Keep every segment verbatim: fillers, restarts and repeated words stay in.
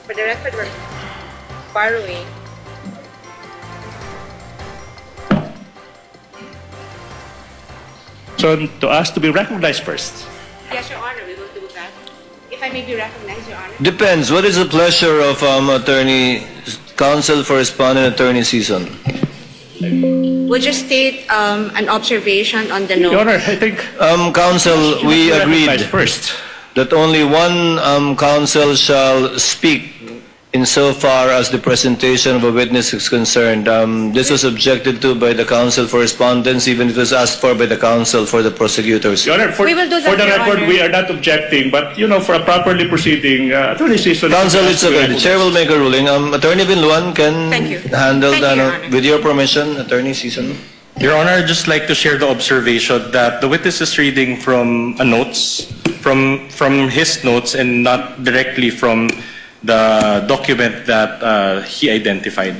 For the record, we're borrowing. So to ask to be recognized first. Yes, Your Honor, we will do that. If I may be recognized, Your Honor. Depends. What is the pleasure of um, attorney, counsel for respondent, attorney Season? We'll just state um, an observation on the note. Your Honor, I think Um, counsel, we recognized agreed first. that only one um, counsel shall speak insofar as the presentation of a witness is concerned. Um, this was objected to by the counsel for respondents, even if it was asked for by the counsel for the prosecutors. Your Honor, for, We will do for that, the Your record, Honor. We are not objecting, but you know, for a properly proceeding, uh, attorney Season. Counsel, it's okay. The chair will make a ruling. Um, Attorney Binluan can Thank you. handle Thank the, you, Your ano, Honor. With your permission, Attorney Season. Your Honor, I'd just like to share the observation that the witness is reading from a notes, from from his notes, and not directly from the document that uh, he identified.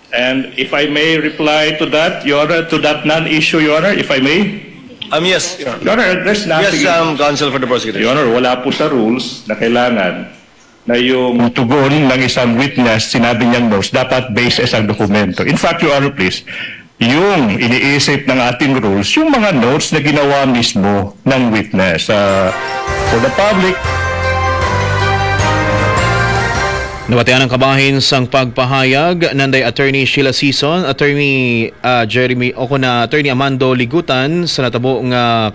And if I may reply to that, Your Honor, to that non-issue, Your Honor, if I may. Um, yes, Your Honor. Your Honor, there's nothing. Yes, um, counsel for the prosecutor. Your Honor, wala po sa rules na kailangan na yung tugon ng isang witness, sinabi niyang notes, dapat based sa isang dokumento. In fact, Your Honor, please, yung iniisip ng ating rules, yung mga notes na ginawa mismo ng witness. Uh, for the public, Nabatian ang kabahin sang pagpahayag nanday Attorney Sheila Season, Attorney ah, Jeremy o kon Attorney Amando Ligutan sa natabo nga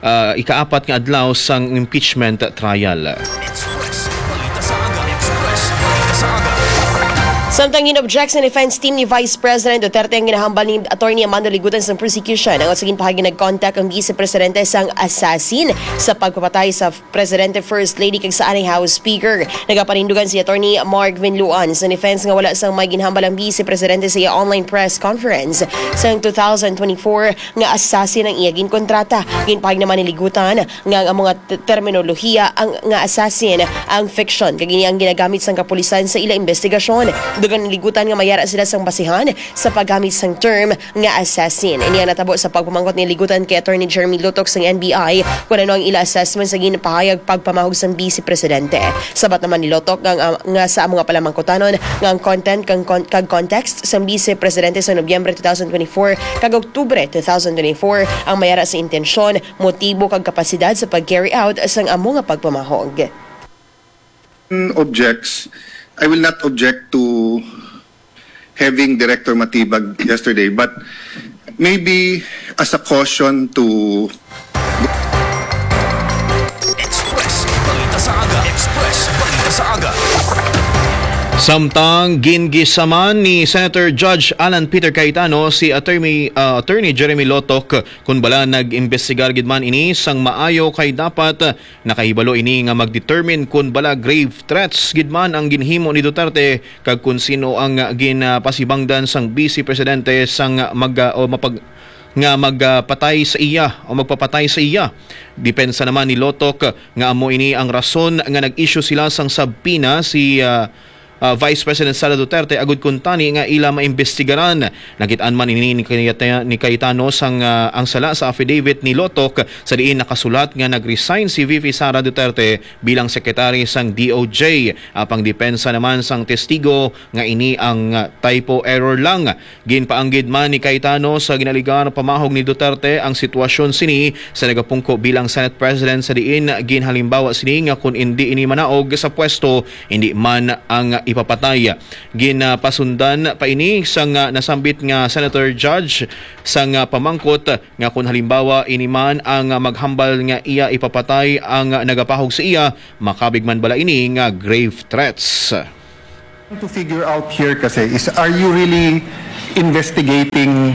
ah, ikaapat nga adlaw sang impeachment trial. Express Balita sa Aga. Express Balita sa Aga. Samtang gin-object sa defense team ni Vice President Duterte ang ginahambal ni Attorney Amando Ligutan sang prosecution, ang sa ginpahayag nag-contact ang Vice Presidente sang assassin sa pagpapatay sa Presidente, First Lady kag sa anay House Speaker. Nagapanindugan si Attorney Mark Vinluan sa defense nga wala sang may ginhambal ang Vice Presidente sa iya online press conference sang two thousand twenty-four nga assassin ang iya ginkontrata. Ginpahayag naman ni Ligutan nga ang mga t- terminolohiya ang nga assassin ang fiction kag ini ang ginagamit sang kapulisan sa ila investigasyon. Dugang ni Ligutan nga mayara sila sang basihan sa paggamit sang term nga assassin. Ini ang natabo sa pagpamangkot ni Ligutan kay Attorney Jeremy Lotok sang N B I kung ano ang ila assessment sa ginpahayag pagpamahog sang Vice Presidente. Sabat naman ni Lotok nga, nga, nga sa mga palamangkutanon nga ang content kag, kag context sang Vice Presidente sa Nobyembre two thousand twenty-four kag Oktubre two thousand twenty-four ang mayara sa intensyon, motibo kag kapasidad sa pag-carry out sang amo nga pagpamahog. Objects, I will not object to having Director Matibag yesterday, but maybe as a caution to Express Balita sa Aga. Express Balita sa Aga. Samtang gingisaman ni Senator Judge Alan Peter Cayetano si Attorney, ah, Attorney Jeremy Lotok, kun bala nag-imbestigar gid man ini sang maayo kay dapat nakahibalo ini nga mag-determine kun bala grave threats gid man ang ginhimo ni Duterte kag kun sino ang ginpasibangdan sang Vice Presidente sang mag, o mapag, nga magpatay sa iya o magpapatay sa iya. Depensa naman ni Lotok nga amo ini ang rason nga nag-issue sila sang subpoena si, ah, ah, Vice President Sara Duterte agud kuntani nga ila maimbestigaran. Nakit-an man ini ni Cayeta-, ni Cayetano sang, ah, ang sala sa affidavit ni Lotok sa diin nakasulat nga nag-resign si V P Sara Duterte bilang secretary sang D O J. Apang depensa naman sang testigo nga ini ang, ah, typo error lang. Ginpaanggid man ni Cayetano sa ginaligar pamahog ni Duterte ang sitwasyon sini sa nagapungko bilang Senate President sa diin ginhalimbawa sini nga kun indi ini manaog sa pwesto, indi man ang ipapatay. Ginapasundan pa ini sang nasambit nga Senator Judge sang pamangkot nga kun halimbawa ini man ang maghambal nga iya ipapatay ang nagapahog sa iya, makabig man bala ini nga grave threats. To figure out here kasi is, are you really investigating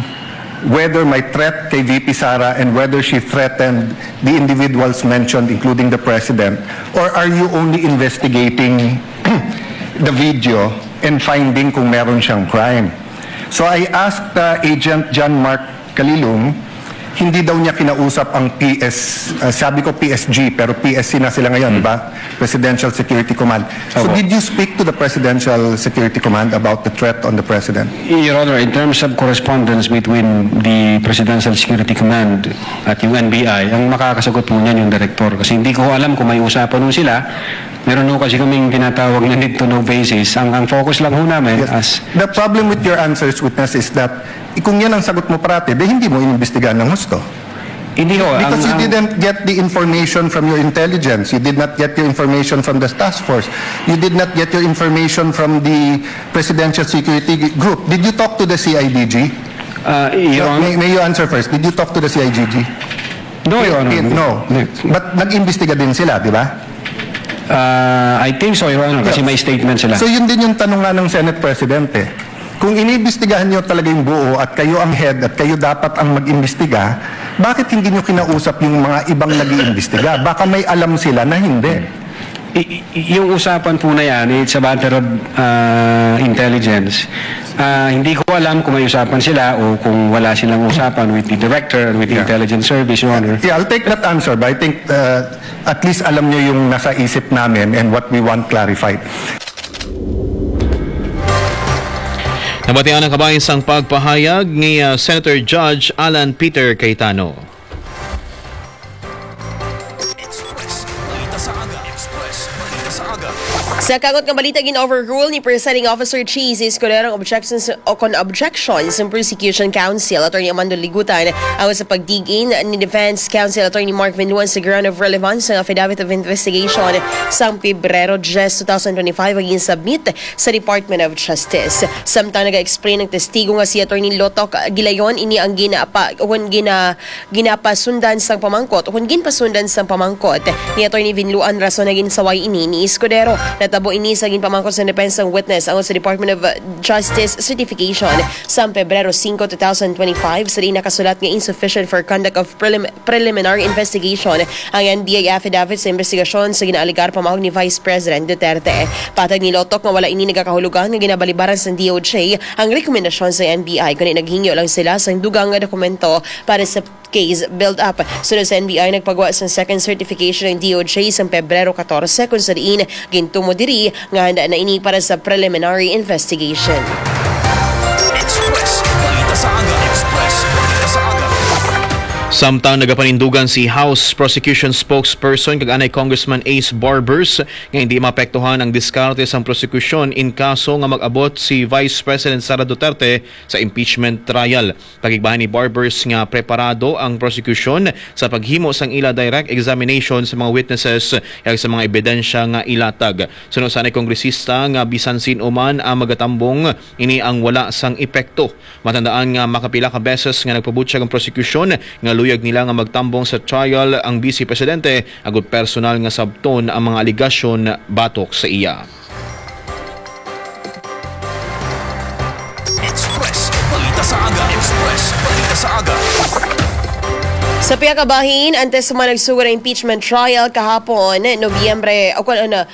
whether may threat kay V P Sara and whether she threatened the individuals mentioned, including the president? Or are you only investigating the video and finding kung meron siyang crime? So I asked uh, Agent John Mark Kalilung Hindi daw niya kinausap ang P S, uh, sabi ko P S G, pero P S C na sila ngayon, di ba? Presidential Security Command. So, Opo. Did you speak to the Presidential Security Command about the threat on the President? Your Honor, in terms of correspondence between the Presidential Security Command at yung N B I, ang makakasagot po niyan yung direktor. Kasi hindi ko alam kung may usapan nun sila. Meron ho kasi kaming tinatawag na need to know basis. Ang, ang focus lang ho namin Yes. as The problem with your answers, witness, is that kung yan ang sagot mo parati, di hindi mo inimbestigahan ng husto. Hindi ho. Because Ang, you ang didn't get the information from your intelligence. You did not get your information from the task force. You did not get your information from the Presidential Security Group. Did you talk to the C I D G? Ah, Your Honor. May, may you answer first? Did you talk to the C I D G? No, Your Honor. No. Hindi. But nag-imbestiga din sila, di ba? Ah, I think so, Your Honor, kasi Yeah. may statement sila. So, yun din yung tanong nga ng Senate President eh. Kung iniimbestigahan nyo talaga yung buo at kayo ang head at kayo dapat ang mag-imbestiga, bakit hindi nyo kinausap yung mga ibang nag-iimbestiga? Baka may alam sila na hindi. I- i- yung usapan po na yan, it's a matter of, ah, intelligence. Ah, hindi ko alam kung may usapan sila o kung wala silang usapan with the director and with the Yeah. intelligence service, Your Honor. Yeah, I'll take that answer, but I think, uh, at least alam nyo yung nasa isip namin and what we want clarified. Nabatian ang kabahin sang pagpahayag ni, ah, Senator Judge Alan Peter Cayetano. Express Balita sa Aga. Express Balita sa Aga. Sa kagot nga balita, gin-overrule ni Presiding Officer Cheese Escudero ang objections o kon objections sa Prosecution Counsel Attorney Amando Ligutan ang sa pag-dig-in ni Defense Counsel Attorney Mark Vinluan sa ground of relevance sa affidavit of investigation sang Pebrero diyes, two thousand twenty-five, nga gin-submit sa Department of Justice. Samtang naga-explain ang testigo nga si Attorney Lotok Gilayon, ini ang ginapa-, kun gina-, ginapasundan sang pamangkot, kun ginpasundan sang pamangkot ni Attorney Vinluan, rason nga ginsaway ini ni Escudero. Natabo ini sa ginpamangkot sang depensang witness ang sa Department of Justice certification sa Pebrero singko, two thousand twenty-five, sa diin nakasulat nga insufficient for conduct of prelim-, preliminary investigation ang N B I affidavit sa investigasyon sa ginaalegar pamahog ni Vice President Duterte. Patag ni Lotok nga wala ini nagakahulugan nga ginabalibaran sang D O J ang rekomendasyon sa N B I, kundi naghingyo lang sila sang dugang nga dokumento para sa case build-up. Sunod sa N B I, nagpagwa sang second certification ang D O J sang Pebrero katorse, kung sa diin gintumo diri nga handa na ini para sa preliminary investigation. Express Balita sa Aga. Express Balita sa Aga. Samtang nagapanindugan si House Prosecution Spokesperson kag anay Congressman Ace Barbers nga hindi maapektuhan ang diskarte sang prosekusyon in kaso nga mag-abot si Vice President Sara Duterte sa impeachment trial. Pakigbahin ni Barbers nga preparado ang prosekusyon sa paghimo sang ila direct examination sa mga witnesses kag sa mga ebidensya nga ilatag. Suno sa anay kongresista nga bisan sin-o man ang magatambong, ini ang wala sang epekto. Matandaan nga makapila ka beses nga nagpabutyag ang prosekusyon nga luyag nila nga magtambong sa trial ang Vice Presidente agud personal nga sabton ang mga alegasyon batok sa iya. Express Balita sa Aga. Express Balita sa Aga. Sa pihak sa bahin, antes man nagsugod ang impeachment trial kahapon, Nobyembre, o kung ano,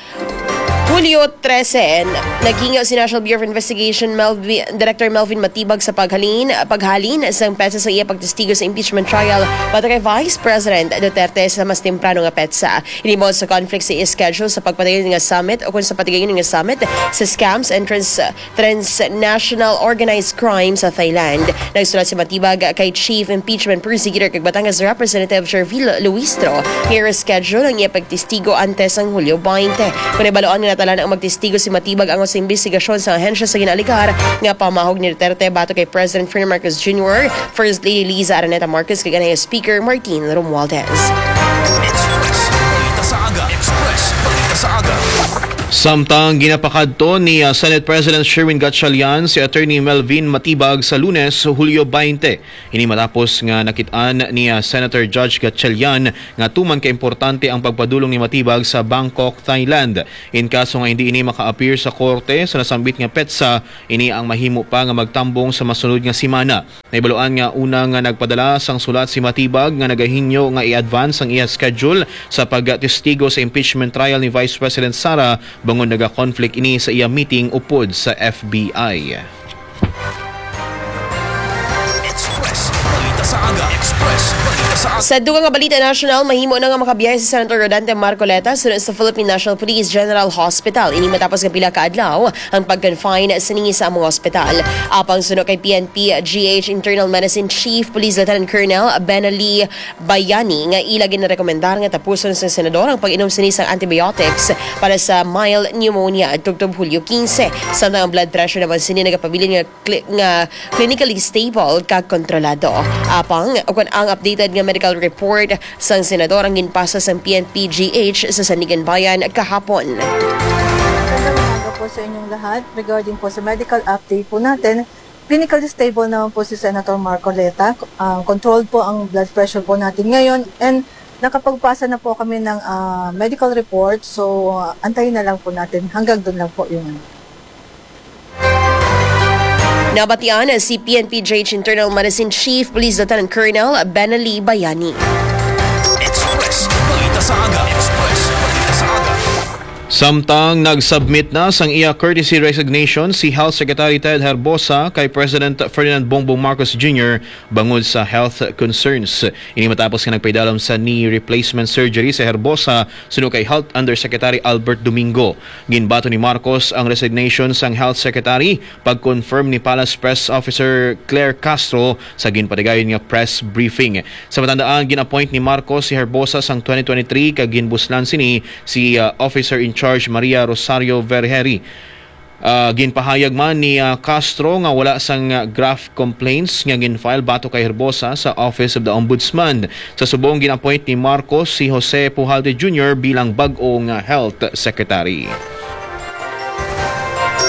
Hulyo trese, naghingyo si National Bureau of Investigation Melvi-, Director Melvin Matibag sa paghalin, paghalin sang petsa sa iya pagtestigo sa impeachment trial batok kay Vice President Duterte sa mas temprano nga petsa. Involved sa conflict sa schedule sa pagpatigayon nga summit o kung sa patigayon nga summit sa scams and trans-, transnational organized crime sa Thailand. Nagsulat si Matibag kay Chief Impeachment Prosecutor kag Batangas Representative Sherville Luistro nga i-reschedule ang iya pagtestigo antes sang Hulyo twenty. Kon nabal-an nga natalaan ang magtestigo si Matibag angot sa imbestigasyon sa ahensya sa ginaalegar nga pamahog ni Duterte batok kay President Ferdinand Marcos Junior, First Lady Liza Araneta Marcos kag anay Speaker Martin Romualdez. Express Balita sa Aga. Express Balita sa Aga. Samtang ginapakadto ni, ah, Senate President Sherwin Gatchalian si Attorney Melvin Matibag sa Lunes, Hulyo twenty. Ini matapos nga nakit-an ni, ah, Senator Judge Gatchalian nga tuman ka importante ang pagpadulong ni Matibag sa Bangkok, Thailand. In kaso nga hindi ini maka-appear sa korte sa nasambit nga petsa, ini ang mahimo pa nga magtambong sa masunod nga semana. Nahibaluan nga una nga nagpadala sang sulat si Matibag nga nagahingyo nga i-advance ang iya schedule sa pagtestigo sa impeachment trial ni Vice President Sara, bangod naga-conflict ini sa iya meeting upod sa F B I. Express Balita sa Aga. Express Sa dugang nga balita nasyonal, mahimo na nga makabiyahe si Senator Rodante Marcoleta suno sa Philippine National Police General Hospital. Ini matapos nga pila ka adlaw ang pag-confine sini sa among ospital. Apang suno kay P N P G H Internal Medicine Chief Police Lieutenant Colonel Benali Bayani nga ila ginarekomendar nga tapuson sa senador ang pag-inom sini sang antibiotics para sa mild pneumonia tubtob Hulyo quince. Samtang ang blood pressure naman sini nagapabilin nga cli-, nga clinically stable kag kontrolado. Apang, ukon ang updated nga medical report sang senador ang ginpasa sang P N P G H sa Sandiganbayan kahapon. Magandang umaga po sa inyong lahat. Regarding po sa medical update po natin, clinically stable naman po si Senator Marcoleta. Ah, controlled po ang blood pressure po natin ngayon and nakapagpasa na po kami ng, ah, medical report. So, ah, antayin na lang po natin. Hanggang doon lang po yung ano. Nabatian si P N P G H Internal Medicine Chief Police Lieutenant Colonel Benali Bayani. Express Balita sa Aga. Express Balita sa Aga. Samtang nag-submit na sang iya courtesy resignation si Health Secretary Ted Herbosa kay President Ferdinand Bongbong Marcos Junior bangod sa health concerns. Ini matapos nga nagpaidalom sa knee replacement surgery sa Herbosa suno kay Health Undersecretary Albert Domingo. Ginbaton ni Marcos ang resignation sang Health Secretary pag-confirm ni Palace Press Officer Claire Castro sa ginpatigayon nga press briefing. Sa matandaan, gin-appoint ni Marcos si Herbosa sang twenty twenty-three kag ginbuslan sini si, ah, Officer in Charge Maria Rosario Vergeri. Ah, ginpahayag man ni, ah, Castro nga wala sang, ah, graft complaints nga gin-file batok kay Herbosa sa Office of the Ombudsman. Sa subong, gin-appoint ni Marcos si Jose Pujalte Junior bilang bag-o nga Health Secretary.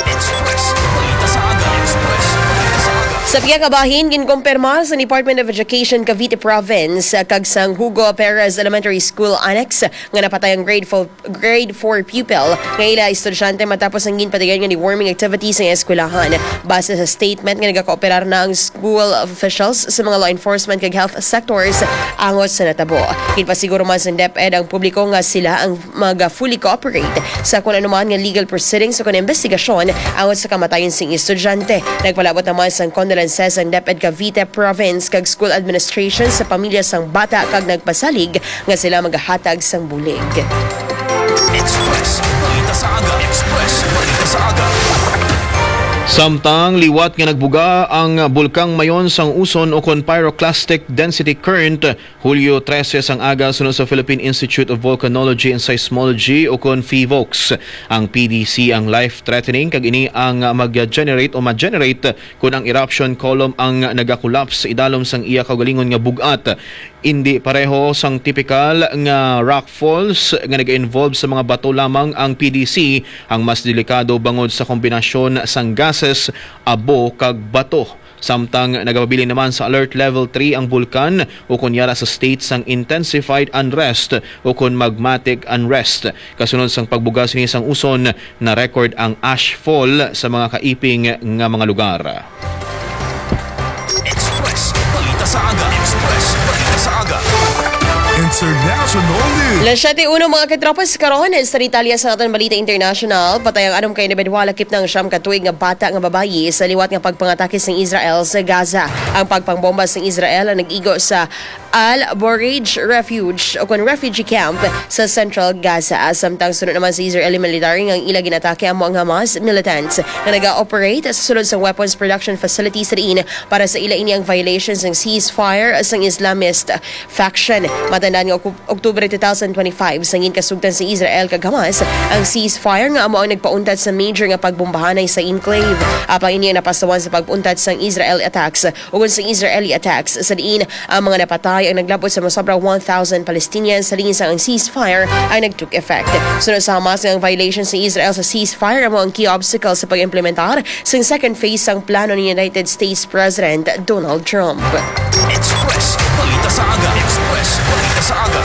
Express Balita sa Aga. Express Balita sa Aga. Sa pihak nga bahin, ginkumpirma sa Department of Education Cavite Province, ah, kag sang Hugo Perez Elementary School Annex nga napatay ang grade four, grade four pupil nga ila estudyante matapos ang ginpatigayon nga deworming activity sa eskwelahan. Base sa statement nga nagakooperar na ang school officials sa mga law enforcement kag health sectors angot sa natabo. Ginpasiguro man sa DepEd ang publiko nga sila ang mag-fully cooperate sa kon anuman nga legal proceedings o kon investigasyon angot sa kamatayon sing estudyante. Nagpalabot naman sang condolences ang DepEd Cavite Province kag school administration sa pamilya sang bata kag nagpasalig nga sila magahatag sang bulig. Express Balita sa Aga. Express Balita sa Aga. Samtang liwat nga nagbuga ang Bulkang Mayon sang Uson ukon pyroclastic density current, Hulyo trese sang aga, suno sa Philippine Institute of Volcanology and Seismology ukon PHIVOLCS. Ang P D C ang life-threatening kag ini ang mag-generate o ma-generate kon ang eruption column ang nagakolapse idalom sang iya kaugalingon nga bug-at. Indi pareho sang tipikal nga rock falls nga nag-involve sa mga bato lamang, ang P D C ang mas delikado bangod sa kombinasyon sang gases, abo, kag bato. Samtang nagapabilin naman sa Alert Level three ang bulkan, ukon yara sa state sang intensified unrest ukon magmatic unrest. Kasunod sang pagbuga sini sang Uson, na-record ang ash fall sa mga kaiping nga mga lugar. Express Balita sa Aga. Express Balita sa Aga. International News. Las siete uno, mga katropas, karon sa detalye sa aton balita international. Patay ang anom ka individual, lakip na ang siyam ka tuig nga bata nga babayi sa liwat nga pagpangatake sang Israel sa Gaza. Ang pagpangbomba sang Israel ang nag-igo sa Al Bureij Refuge o kon refugee camp sa Central Gaza. Samtang suno naman sa Israeli military nga ang ila ginatake amo ang Hamas militants nga naga-operate sa sulod sa weapons production facility sa diin para sa ila ini ang violation sang ceasefire sang Islamist faction. Matandaan nga Oku-, Oktubre two thousand twenty-five, sangin kasugtan sa Israel kag Hamas ang ceasefire nga amo ang nagpauntat sa major nga pagbombahanay sa enclave. Apang ini ang napasawan sa pag-untat sang Israel attacks ukon sang Israeli attacks sa diin ang mga napatay ang naglabot sa mosobra one thousand Palestinians, halin sang ang ceasefire ang nag-took effect. Sunod sa Hamas, ang violation sa Israel sa ceasefire amo ang key obstacle sa pag-implementar sang second phase sang plano ni United States President Donald Trump. Express Balita sa Aga. Express Balita sa Aga.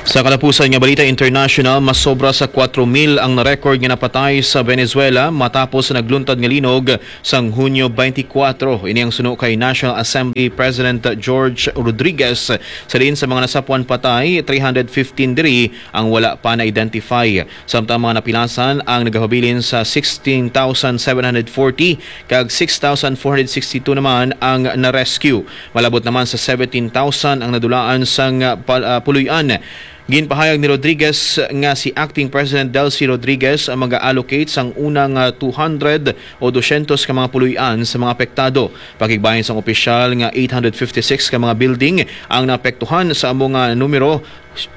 Sa katapusan nga balita international, mas sobra sa kwatro mil ang na-record nga napatay sa Venezuela matapos sa nagluntad nga linog sang Hunyo twenty-four. Ini ang suno kay National Assembly President George Rodriguez. Sa diin sa mga nasapuan patay, three hundred fifteen diri ang wala pa na-identify. Samtang mga napilasan ang nagahabilin sa sixteen thousand seven hundred forty, kag six thousand four hundred sixty-two naman ang na-rescue. Malabot naman sa seventeen thousand ang nadulaan sang, ah, pal-, ah, puloy-an. Ginpahayag ni Rodriguez nga si Acting President Delcy Rodriguez ang mag-allocate sang una nga two hundred o dosyentos ka mga puloy-an sa mga apektado. Pakigbahin sang opisyal nga eight hundred fifty-six ka mga building ang naapektuhan, sa amo nga numero,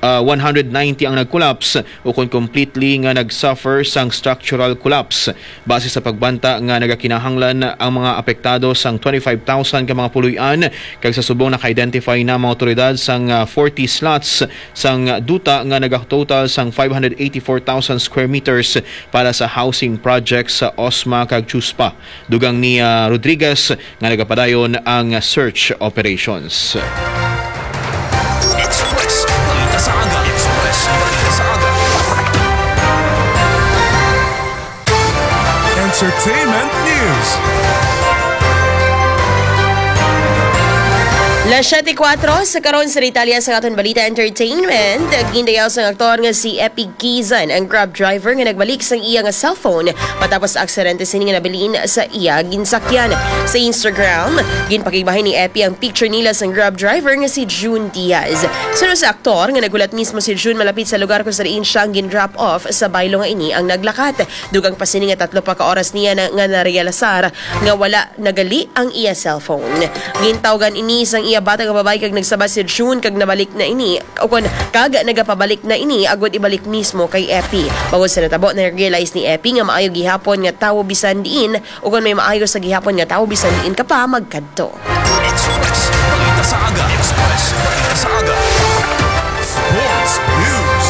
ah, one hundred ninety ang nag-collapse ukon completely nga nag-suffer sang structural collapse. Base sa pagbanta nga nagakinahanglan ang mga apektado sang twenty-five thousand ka mga puloy-an, kag sa subong naka-identify na ang mga awtoridad sang, ah, forty slots sang duta nga nagatotal sang five hundred eighty-four thousand square meters para sa housing projects sa Osma kag Chuspa. Dugang ni, ah, Rodriguez nga nagapadayon ang search operations. Express Balita sa Aga. Express Balita sa Aga. Entertainment News. Las siete kuwatro sa karon. Sa detalye sa aton balita entertainment, gindayaw sang aktor nga si Epi Kizan ang Grab driver nga nagbalik sang iya nga cellphone matapos sa aksidente sini nga nabilin sa iya ginsakyan. Sa Instagram, ginpakigbahin ni Epi ang picture nila sang Grab driver nga si June Diaz. Suno sa aktor nga naghulat mismo si June malapit sa lugar kung sa diin siya ang gin-drop off sa baylo nga ini ang naglakat. Dugang pa sini nga tatlo pa ka oras niya na, nga narealisar nga wala nagali ang iya cellphone. Gintawgan ini sang iya bata nga babayi kag nagsabat si June kag nabalik na ini, o kon, kag nagapabalik na ini agud ibalik mismo kay Epi. Bangod sa natabo, na-realize ni Epi nga maayo gihapon nga tawo bisan diin, o kon may maayo sa gihapon nga tawo bisan diin ka pa magkadto. Express Balita sa Aga. Express Balita sa Aga. Sports News.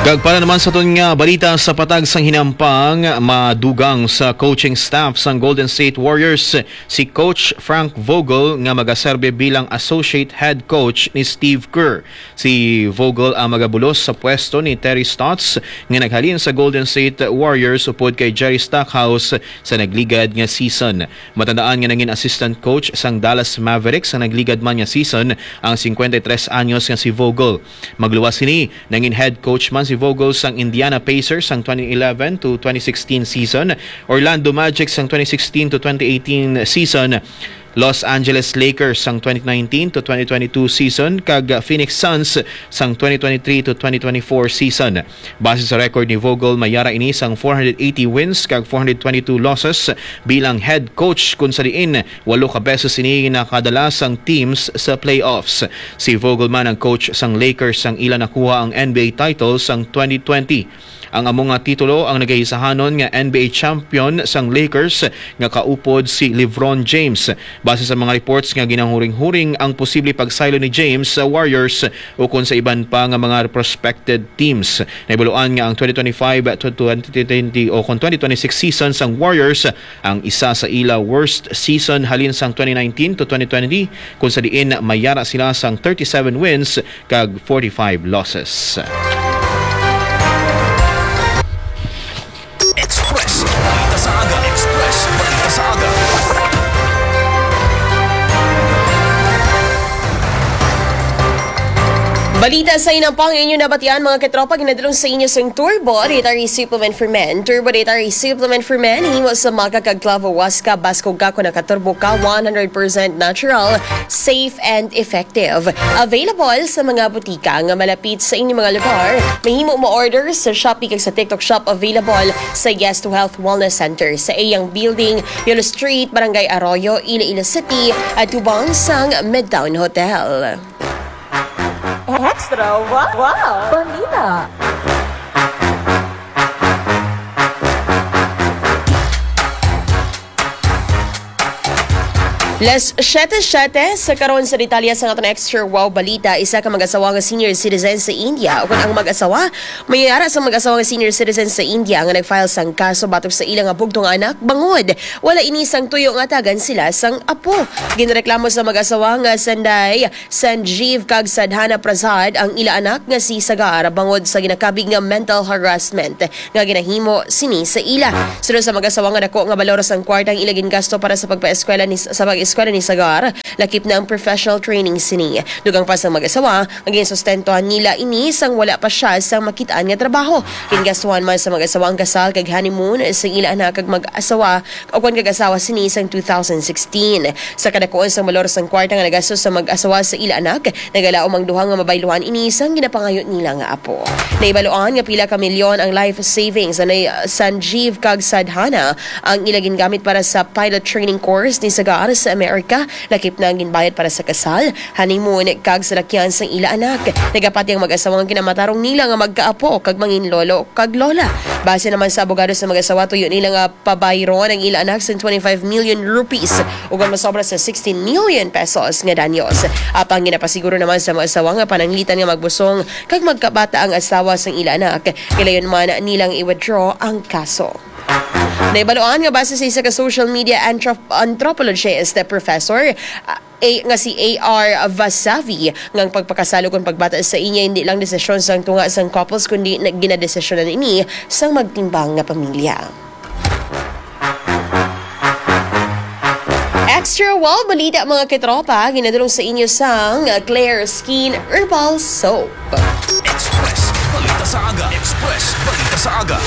Kag para naman sa aton nga balita sa patag sang hinampang, madugang sa coaching staff sang Golden State Warriors si Coach Frank Vogel nga magaserbi bilang associate head coach ni Steve Kerr. Si Vogel ang magabulos sa pwesto ni Terry Stotts nga naghalin sa Golden State Warriors upod kay Jerry Stackhouse sa nagligad nga season. Matandaan nga nangin assistant coach sang Dallas Mavericks sa nagligad man nga season ang cincuenta y tres anyos nga si Vogel. Magluwas sini, nangin head coach man si Vogel sang Indiana Pacers sang twenty eleven to twenty sixteen season, Orlando Magic sang twenty sixteen to twenty eighteen season, Los Angeles Lakers sang twenty nineteen to twenty twenty-two season, kag Phoenix Suns sang twenty twenty-three to twenty twenty-four season. Base sa record ni Vogel, may yara ini sang four hundred eighty wins kag four hundred twenty-two losses bilang head coach, kun sa diin walo ka beses ini nakadala sang teams sa playoffs. Si Vogel man ang coach sang Lakers sang ila nakuha ang N B A title sang twenty twenty. Ang amo nga titulo ang nagahisahanon nga N B A champion sang Lakers nga kaupod si LeBron James. Base sa mga reports nga ginahuring-huring ang posible pagsaylo ni James sa Warriors ukon sa iban pa nga mga prospected teams. Nahibaluan nga ang twenty twenty-five to twenty twenty o kon twenty twenty-six season sang Warriors ang isa sa ila worst season halin sang twenty nineteen to twenty twenty, kung sa diin may yara sila sang thirty-seven wins kag forty-five losses. Express Balita sa Aga. Express Balita sa Aga. Balita sa hinampang inyo nabatian, mga katropa, ginadulong sa inyo sang Turbo Dietary Supplement for Men. Turbo Dietary Supplement for Men, himo sa maca kag clavo huasca, baskog ka kon nakaturbo ka, one hundred percent natural, safe and effective. Available sa mga butika nga malapit sa inyong mga lugar. Mahimo mo-order sa Shopee kag sa TikTok Shop. Available sa Yes to Health Wellness Center sa iyang building, Yolo Street, Barangay Arroyo, Iloilo City, atubang sang Midtown Hotel. Extra wa-, wow! Balita. Las siete siete, sa karon sa detalye sa aton extra wow balita, isa ka mag-asawa nga senior citizen sa India, o kung ang mag-asawa, may ara sa mag-asawa nga senior citizen sa India nga nag-file sang kaso batok sa ila nga bugtong anak, bangod wala ini sang tuyo nga tagan sila sang apo. Ginreklamo sa mag-asawa nga sanday Sanjeev kag Sadhana Prasad ang ila anak nga si Sagar bangod sa ginakabig nga mental harassment nga ginahimo sini sa ila. Suno sa mag-asawa nga dako nga balor sang kwarta ang ila gingasto para sa pagpaeskwela ni, sa pag-eskwela ni Sagar, lakip na ang professional training sini. Dugang pa sa mag-asawa, ang ginsustentuhan nila ini sang wala pa siya sang makitaan nga trabaho. Gingastuhan man sa mag-asawa ang kasal kag honeymoon sa ila anak kag mag-asawa o kwan kag asawa sini sang two thousand sixteen. Sa kadakuan sang balor sang kwarta nga nagastos sa mag-asawa sa ila anak, nagalaom ang duha nga mabayluhan ini sang ginapangayo nila nga apo. Naibaluan nga pila ka milyon ang life savings anay Sanjeev kag Sadhana ang ila gingamit para sa pilot training course ni Sagar sa Amerika, lakip na ang ginbayad para sa kasal, honeymoon, kag salakyan sang ila anak. Nagapati ang mag-asawa nga kinamatarong nila nga magkaapo kag mangin lolo kag lola. Base naman sa abogado sa mag-asawa, tuyo nila nga pabayron ang ila anak sa twenty-five million rupees, ug ang masobra sa sixteen million pesos nga danyos. Apang ginapasiguro naman sa mag-asawa nga pananglitan nga magbusong kag magkabata ang asawa sang ila anak. Gilayon man nilang i-withdraw ang kaso. Naibaluan nga base sa isa ka social media anthrop-, anthropologist, professor, ah, A, nga si A R Vasavi, nga ang pagpakasal ukon pagbata sa inyo hindi lang desisyon sang tunga sang couples, kundi na-, ginadesisyonan ini sang magtimbang nga pamilya. Extra Wow Balita, mga katropa, ginadulong sa inyo sang Claire Skin Herbal Soap. Express Balita sa Aga. Express Balita sa Aga.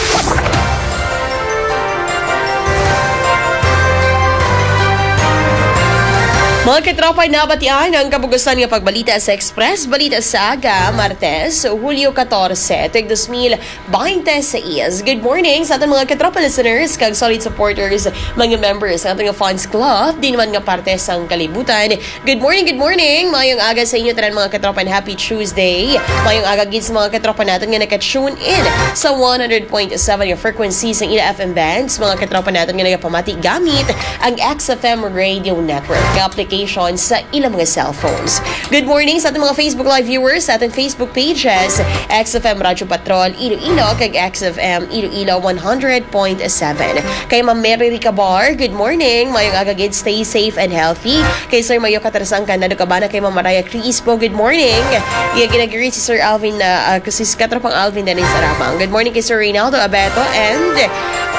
Mga katropa, nabatian ang kabugusan nga pagbalita sa Express Balita sa Aga, Martes, Hulyo katorse, tuig dos mil baynte sais. Good morning sa aton mga katropa listeners kag solid supporters, mga members sa aton nga fans club, di naman nga parte sang kalibutan. Good morning, good morning. Mayong aga sa inyo tanan, mga katropa, and happy Tuesday. Mayong aga gid sa mga katropa naton nga naka-tune in sa one hundred point seven nga frequency sang ila F M bands, mga katropa naton nga nagapamati gamit ang X F M Radio Network nga application sa ilang mga cellphones. Good morning sa ating mga Facebook Live viewers, sa ating Facebook pages, X F M Radyo Patrol Iloilo kag X F M Iloilo one hundred point seven. Kay Ma'am Mary Ricabar, good morning. Mayong aga gid, stay safe and healthy. Kay Sir Mayo Katarasang Candado Cabana, kay Ma'am Mariah Crispo, good morning. Iya ginagiri si Sir Alvin, ah, ah, si Katropang Alvin Dennis Arabang. Good morning kay Sir Reynaldo Abeto and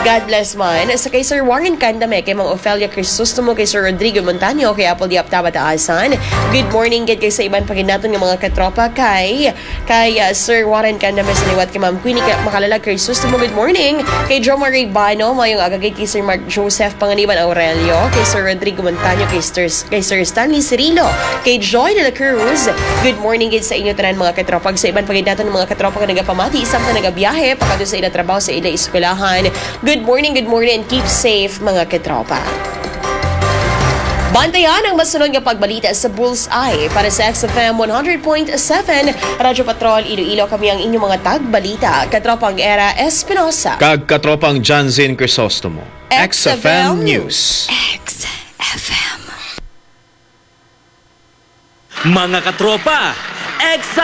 God bless man. Sa kay Sir Warren Candame, kay Ma'am Ofelia Crisostomo, kay Sir Rodrigo Montaño, kay Apple Diab Tabataasan. Good morning gid kay sa iban pa gid naton nga mga katropa kay, kay, ah, Sir Warren Candame sa liwat kay Ma'am Queenie ka-, Makalalag Crisostomo. Good morning kay Jo Marie Bano, mayong aga gid kay Sir Mark Joseph Panganiban Aurelio, kay Sir Rodrigo Montaño, kay Sir, kay Sir Stanley Cirilo, kay Joy de la Cruz. Good morning gid sa inyo tanan mga katropa. Sa iban pa gid naton mga katropa nga nagapamati samtang nagabiyahe pakadto sa ila trabaho, sa ila eskwelahan. Good morning, good morning, and keep safe, mga katropa. Bantayan ang masunod nga pagbalita sa Bullseye para sa X F M one hundred point seven Radyo Patrol Iloilo. Kami ang inyong mga tagbalita, Katropang Era Espinosa. Kag Katropang Janzin Crisostomo. X F M News. X F M. Mga katropa, X